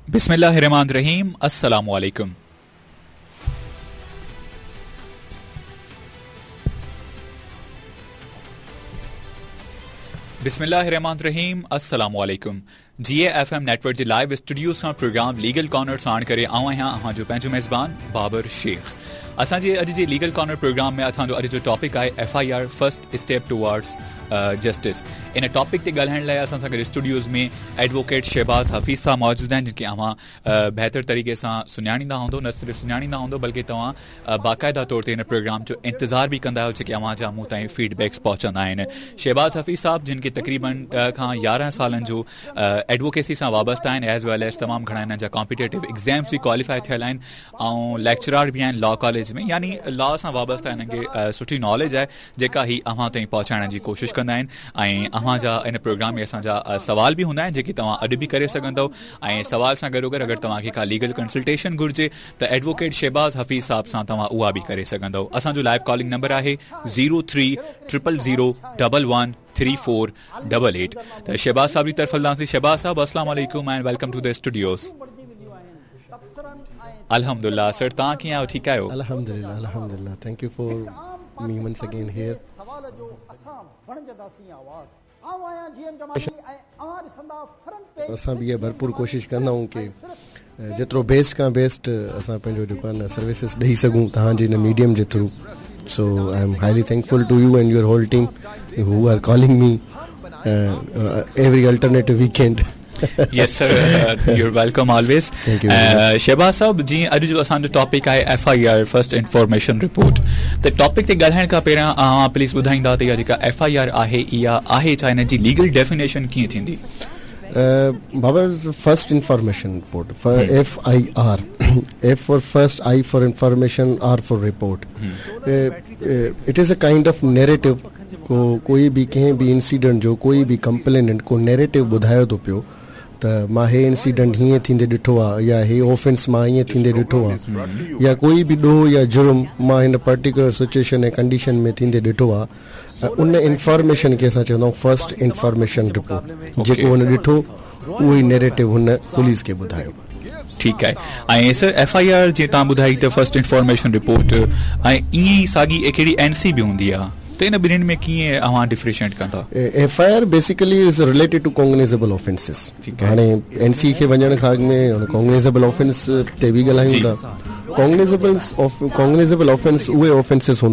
بسم الله الرحمن الرحيم السلام عليڪم. بسم الله الرحمن الرحيم السلام عليڪم جي اي ايف ايم نيٽورڪ جي لائيو اسٽوڊيوز کان پروگرام ليگل ڪارنر ساڻ ڪري آئون آهيان اوهان جو پنهنجو ميزبان بابر شيخ اسان جي اڄ جي ليگل ڪارنر پروگرام ۾ اسان جو اڄ جو ٽاپڪ آهي F I R first step towards justice in topic تي ڳالهائڻ لاء اسان سان گڏ اسٽوڊيوز ۾ ايڊووڪيٽ شهباز حفيظ صاحب موجود آهن جن کي اوهان بهتر طريقي سان سڃاڻيندا هوندو نه صرف سڃاڻيندا هوندو بلڪه توهان باقاعده طور تي هن پروگرام جو انتظار به ڪندا آهيو جيڪي اوهان جا مون تائين فيڊ بيڪس پهچندا آهن شهباز حفيظ صاحب جن کي تقريبن 10 کان 11 سالن جو ايڊووڪيسي سان وابسته آهن ايز ويل ايز تمام گهڻا هنن جا ڪامپيٽيٽو ايگزامس به ڪواليفائي ٿيل آهن ۽ ليڪچرار به آهن لا ڪاليج ۾ يعني لا سان وابسته هنن کي سٺي ناليج آهي جيڪا هي اوهان تائين پهچائڻ جي ڪوشش ڪندا آهن ۽ اوهان جا ان پروگرام ۾ اسان جا سوال به هوندا آهن جيڪي توهان اڄ به ڪري سگهندؤ ۽ سوال سان گڏوگڏ اگر توهان کي ڪا ليگل ڪنسلٽيشن گهرجي ته ايڊووڪيٽ شهباز حفيظ صاحب سان توهان اها به ڪري سگهندؤ اسان جو لائيو ڪالنگ نمبر آهي zero three triple zero double one three four double eight ته شهباز صاحب جي طرف هلنداسين شهباز صاحب السلام عليڪم ۽ welcome to the studios الحمدلله سر توهان ڪيئن آهيو ٺيڪ آهيو الحمدلله الحمدلله thank you for me once again here اسان به اها ڀرپور ڪوشش ڪندا آهيون ڪي جيترو بيسٽ کان بيسٽ اسان پنهنجو جيڪو آهي نه سروسز ڏئي سگهون توهان جي هن ميڊيم جي through so I am highly thankful to you and your whole team who are calling me every alternative weekend yes sir you are welcome always Shahbaz صاحب جي اڄ جو اسان جو ٽاپڪ آهي F I R first information report ته topic تي ڳالهائڻ کان پهريان اوهان پليز ٻڌائيندا ته اها جيڪا ايف I R آهي اها آهي ڇا ان جي ليگل ڊيفينيشن ڪيئن ٿيندي Babar first information report F I R F for first I for information R for report it is a kind of narrative ڪو ڪوئي به ڪنهن به انسيڊنٽ جو ڪوئي به ڪمپليننٽ ڪو نيريٽو ٻڌايو ٿو پيو ته مان هي انسيڊنٽ هيئن ٿيندي ڏٺو آ يا هي اوفينس مان هيئن ٿيندي ڏٺو آ يا ڪوئي به ڏوهه يا جرم مان هن پرٽيڪولر سچويشن ۽ ڪنڊيشن ۾ ٿيندي ڏٺو آ ۽ ان انفارميشن کي اسان چوندا آهيون فرسٽ انفارميشن رپورٽ جيڪو هن ڏٺو اهو ئي نيريٽو هن پوليس کي ٻڌايو. ٺيڪ آهي ۽ سر ايف I R جيئن توهان ٻڌائي ته فرسٽ انفارميشن رپورٽ ۽ ائين ئي ساڳي هڪڙي اين سي به هوندي آهي ته ان ٻنهين ۾ ڪيئن اوهان ڊفريشيئيٽ ڪندا؟ F I R basically is related to cognizable offences هاڻي اين سي کي وڃڻ کان اڳ ۾ ڪوگنيزبل آفينس تي به ڳالهايون ٿا ڪوگنيزبل ڪوگنيزبل آفينس اهي آفينسز هوندا